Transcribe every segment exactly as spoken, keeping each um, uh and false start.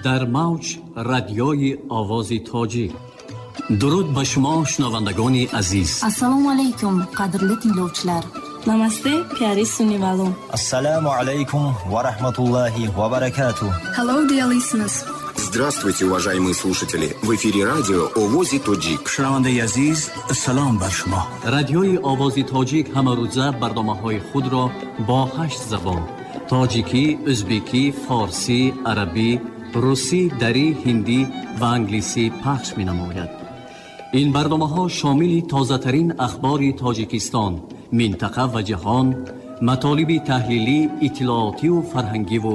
Дар мавҷ радиои Овози Тоҷик. Дуруд ба шумо, шунавандагони азиз. Assalomu alaykum, qadrli tinglovchilar. Namaste, pyari sunivalo. Assalomu alaykum va rahmatullohi va barakatuh. Hello, dear listeners. Здравствуйте, уважаемые слушатели! В эфире радио Овози Тоҷик. Шунавандаи азиз, салом бар шумо. Радиои Овози Тоҷик ҳамарӯза барномаҳои худро бо ҳашт забон: тоҷикӣ, ӯзбекӣ, форсӣ, арабӣ, русӣ, дарӣ, ҳиндӣ ва англисӣ пахш менамояд. Ин барномаҳо шомили тозатарин ахбори Тоҷикистон, минтақа ва ҷаҳон, матолиби таҳлилӣ, иттилоотиву фарҳангиву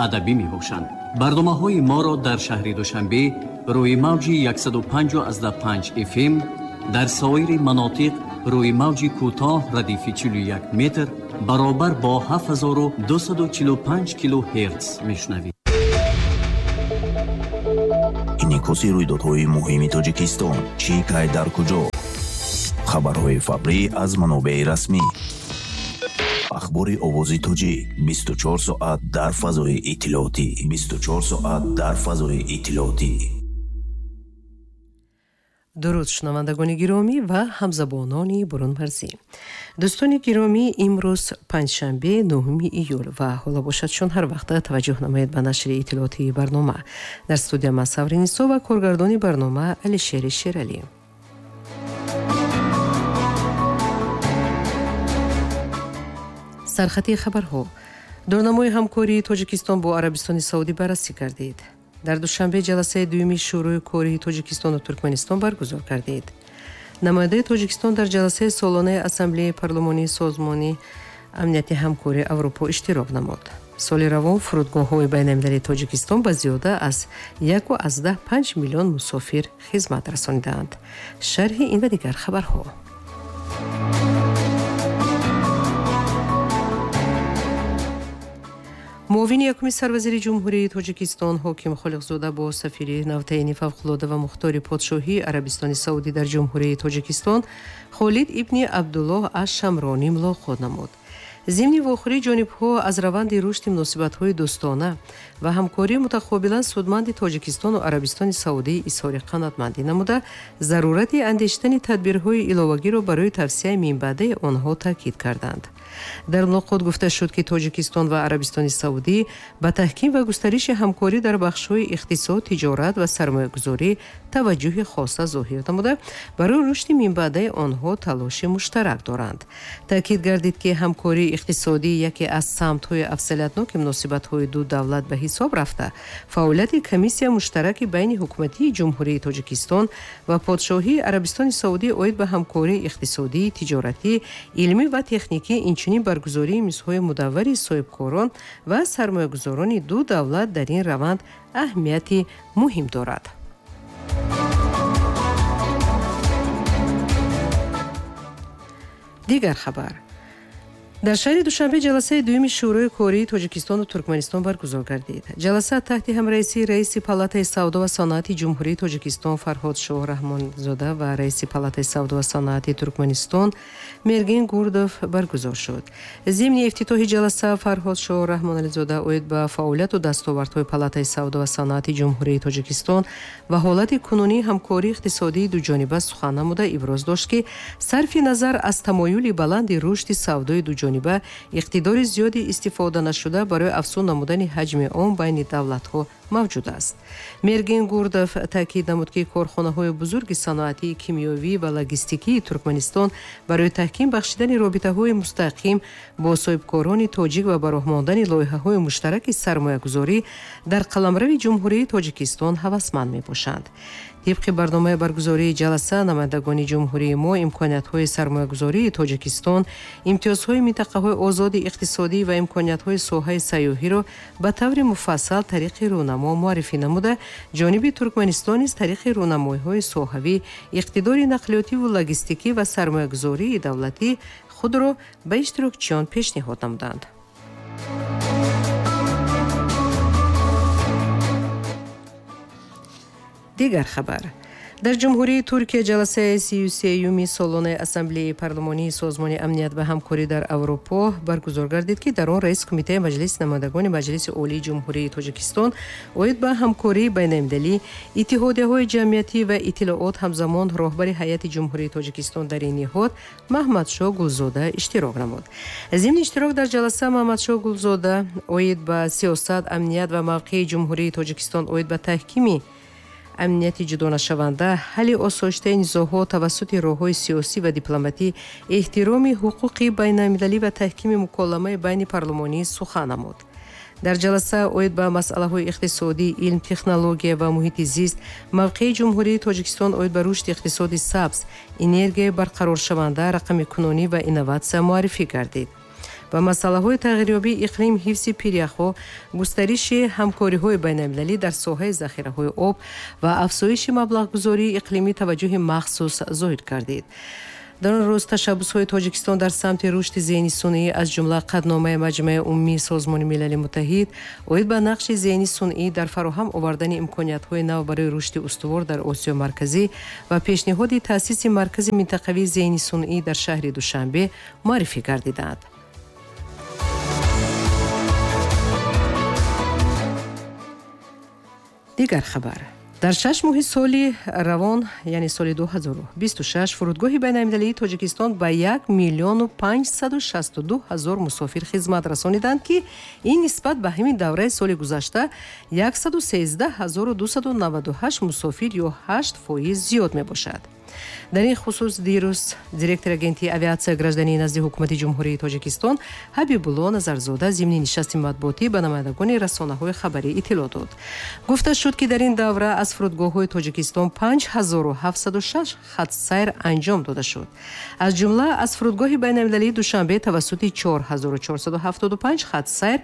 адабӣ мебошанд. Барномаҳои моро дар шаҳри Душанбе рӯи мавҷи яксаду панҷ панҷ F M, дар соири манотиқ рӯи мавҷи кӯтоҳ радифи чилу як метр баробар бо ҳафт ҳазору дусаду чилу панҷ килогерц мешунавед. Инъикоси рӯйдодҳои муҳими Тоҷикистон, чӣ кай дар куҷо, хабарҳои фаврӣ аз манобеи расмӣ. Ахбори Овози Тоҷик бисту чор соат дар фазои иттилоотӣ, бисту чор соат дар фазои иттилоотӣ. Дуруд шунавандагони гиромӣ ва ҳамзабонони бурунмарзӣ. Дӯстони гиромӣ, имрӯз панҷшанбе нӯҳуми июл ва ҳоло бошад чун ҳар вақта таваҷҷӯҳ намоед ба нашри иттилоотии барнома. Дар студия ман Саври Нисо ва коргардони барнома Алишери Шералӣ. Сархати хабарҳо. Дурнамои ҳамкории Тоҷикистон бо Арабистони Саудӣ баррасӣ гардид. Дар Душанбе ҷаласаи дуюми Шӯрои кории Тоҷикистону Туркманистон баргузор гардид. Намояндаи Тоҷикистон дар ҷаласаи солонаи Ассамблеяи парлумонии Созмони Амнияти Ҳамкории Аврупо иштирок намуд. Соли равон фурудгоҳҳои байналмилалии Тоҷикистон ба зиёда аз яку аз даҳ панҷ миллион мусофир хизмат расонидаанд. Шарҳи ин ва дигар хабарҳо. Муовини якуми сарвазири Ҷумҳурии Тоҷикистон Ҳоким Холиқзода бо сафири навтаини фавқулода ва мухтори подшоҳии Арабистони Саудӣ дар Ҷумҳурии Тоҷикистон Холид ибни Абдуллоҳ аш-Шамронӣ мулоқот намуд. Зимни вохӯрии ҷонибҳо аз раванди рушди муносибатҳои дӯстона ва ҳамкории мутақобилан судманди Тоҷикистону Арабистони Саудӣ изҳори қаноатмандӣ намуда, зарурати андешидани тадбирҳои иловагиро барои тавсияи минбаъдаи онҳо таъкид карданд. Дар мулоқот гуфта шуд, ки Тоҷикистон ва Арабистони Саудӣ ба таҳким ва густариши ҳамкорӣ дар бахшҳои иқтисод, тиҷорат ва сармоягузорӣ таваҷҷӯҳи хоса зоҳир намуда, барои рушди минбаъдаи онҳо талоши муштарак доранд. Таъкид гардид, ки ҳамкории иқтисодӣ яке аз самтҳои афзалиятноки муносибатҳои ду давлат ба ҳисоб рафта, фаъолияти комиссия муштараки байни ҳукуматии Ҷумҳурии Тоҷикистон ва подшоҳии Арабистони Саудӣ оид ба ҳамкории иқтисодӣ, тиҷоратӣ, илмӣ ва техникӣ, инчунин баргузории мизҳои мудаввари соҳибкорон ва сармоягузорони ду давлат дар ин раванд аҳамияти муҳим дорад. Дигар хабар. Дар шаҳри Душанбе ҷаласаи дуюми Шӯрои кории Тоҷикистону Туркманистон баргузор гардид. Ҷаласа таҳти ҳамраисии раиси Палатаи савдо ва саноати Ҷумҳурии Тоҷикистон Фарҳод Шоҳ Раҳмонзода ва раиси Палатаи савдо ва саноати Туркманистон Мерген Гурдов баргузор шуд. Зимни ифтитоҳи ҷаласа Фарҳод Шоҳ Раҳмонализода оид ба фаъолияту дастовардҳои Палатаи савдо ва саноати Ҷумҳурии Тоҷикистон ва ҳолати кунунии ҳамкории иқтисодии дуҷониба сухан намуда иброз дошт, ки сарфи назар аз тамоюли баланди рушди савдои дуҷониба иқтидори зиёди истифода нашуда барои афзун намудани ҳаҷми он байни давлатҳо мавҷуд аст. Мерген Гурдов таъкид намуд, ки корхонаҳои бузурги саноатии кимиёвӣ ва логистикии Туркманистон барои таҳким бахшидани робитаҳои мустақим бо соҳибкорони тоҷик ва ба роҳ мондани лоиҳаҳои муштараки сармоягузорӣ дар қаламрави Ҷумҳурии Тоҷикистон ҳавасманд мебошанд. Тибқи барномаи баргузории ҷаласа, намояндагони ҷумҳурии мо имкониятҳои сармоягузории Тоҷикистон, имтиёзҳои минтақаҳои озоди иқтисодӣ ва имкониятҳои соҳаи сайёҳиро ба таври муфассал тариқи рӯнамо муаррифӣ намуда, ҷониби Туркманистон низ тариқи рӯнамоиҳои соҳавӣ, иқтидори нақлиётиву логистикӣ ва сармоягузории давлатӣ худро ба иштирокчиён пешниҳод намуданд. Дигар хабар. Дар Ҷумҳурии Туркия ҷаласаи сию сеюми солонаи Ассамблеяи парлумонии Созмони амният ва ҳамкорӣ дар Аврупо баргузор гардид, ки дар он раиси Кумитаи Маҷлиси намояндагони Маҷлиси Олии Ҷумҳурии Тоҷикистон оид ба ҳамкории байналмилалӣ, иттиҳодияҳои ҷамъиятӣ ва иттилоот, ҳамзамон роҳбари ҳайати Ҷумҳурии Тоҷикистон дар ин ниҳод Маҳмадшоҳ Гулзода иштирок намуд. Зимни иштирок дар ҷаласа Маҳмадшоҳ Гулзода оид ба сиёсат, амният ва мавқеи Ҷумҳурии Тоҷикистон оид ба таҳкими амнияти ҷудонашаванда, ҳалли осоиштаи низоъҳо тавассути роҳҳои сиёсӣ ва дипломатӣ, эҳтироми ҳуқуқи байналмилалӣ ва таҳкими муколамаи байни парлумонӣ сухан намуд. Дар ҷаласа оид ба масъалаҳои иқтисодӣ, илм, технология ва муҳити зист, мавқеи Ҷумҳурии Тоҷикистон оид ба рушди иқтисоди сабз, энергияи барқароршаванда, рақамикунонӣ ва инноватсия муаррифӣ гардид. Ба масъалаҳои тағйирёбии иқлим, ҳифзи пиряхҳо, густариши ҳамкориҳои байналмилалӣ дар соҳаи захираҳои об ва афзоиши маблағгузории иқлимӣ таваҷҷӯҳи махсус зоҳир гардид. Дар он рӯз ташаббусҳои Тоҷикистон дар самти рушди зеҳни сунъӣ, аз ҷумла қатъномаи Маҷмаи Умумии Созмони Милали Муттаҳид оид ба нақши зеҳни сунъӣ дар фароҳам овардани имкониятҳои нав барои рушди устувор дар Осиёи Марказӣ ва пешниҳоди таъсиси маркази минтақавии зеҳни сунъӣ дар шаҳри Душанбе муаррифӣ гардиданд. Дигар хабар. Дар шаш моҳи соли равон, яъне соли ду ҳазору бисту шаш, фурудгоҳи байналмилалии Тоҷикистон ба як миллиону панҷсаду шасту ду ҳазор мусофир хизмат расониданд, ки ин нисбат ба ҳамин давраи соли гузашта яксаду сездаҳ ҳазору дусаду наваду ҳашт мусофир ё ҳашт фоиз зиёд мебошад. Дар ин хусус дирӯз директори агентии авиатсия граждании назди ҳукумати Ҷумҳурии Тоҷикистон Ҳабибулло Назарзода зимни нишасти матбуотӣ ба намояндагони расонаҳои хабарӣ иттилоъ дод. Гуфта шуд, ки дар ин давра аз фурудгоҳҳои Тоҷикистон панҷ ҳазору ҳафтсаду шаш хатсайр анҷом дода шуд. Аз ҷумла аз фурудгоҳи байналмилалии Душанбе тавассути чор ҳазору чорсаду ҳафтоду панҷ хатсайр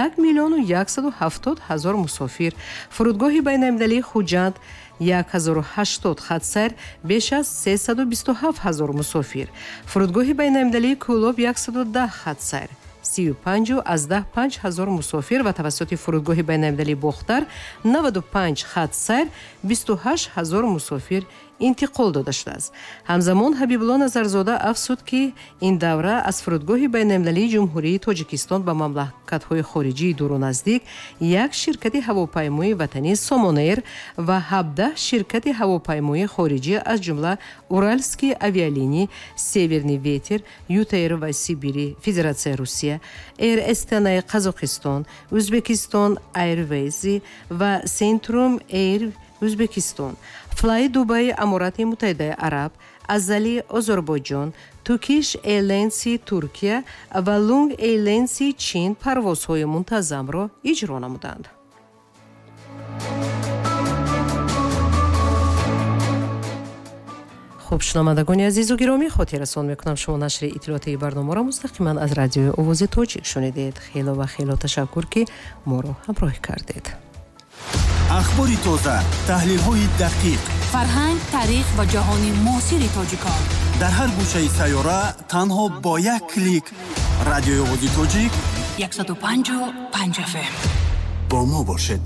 як миллиону яксаду ҳафтод ҳазор мусофир, фурудгоҳи байналмилалии Хуҷанд як ҳазору ҳаштод хатсайр беш аз сесаду бисту ҳафт ҳазор мусофир, фурудгоҳи байналмилалии Кӯлоб яксаду даҳ хатсайр сию панҷу аз даҳ панҷ ҳазор мусофир ва тавассути фурудгоҳи байналмилалии Бохтар наваду панҷ хатсайр бисту ҳашт ҳазор мусофир интиқол дода шудааст. Ҳамзамон Ҳабибулло Назарзода афзуд, ки ин давра аз фурудгоҳи байналмилалии Ҷумҳурии Тоҷикистон ба мамлакатҳои хориҷии дуру наздик як ширкати ҳавопаймоии ватанӣ Сомон Эйр ва ҳабдаҳ ширкати ҳавопаймоии хориҷӣ аз ҷумла Уральские авиалинии, Северный ветер, Ютэйр ва Сибири, Федератсияи Русия, Эйр Астанаи Қазоқистон, Ӯзбекистон Айрвейзи ва Сентрум Эйр Ӯзбекистон, Флай Дубай Аморати Муттаҳидаи Араб, Азали Озарбойҷон, Туркиш Эйрленси Туркия ва Лунг Эйрленси Чин парвозҳои мунтазамро иҷро намуданд. Хуб, шунавандагони азизу гиромӣ, хотиррасон мекунам, шумо нашри иттилоотии барномаро мустақиман аз радиои Овози Тоҷик шунидед. Хело ва хело ташаккур, ки моро ҳамроҳӣ кардед. Ахбори тоза, таҳлилҳои дақиқ, фарҳанг, таърих ва ҷаҳони муосири тоҷикон дар ҳар гӯшаи сайёра танҳо бо як клик. Радиои Овози Тоҷик яксаду панҷу панҷ эф эм. Бо мо бошед.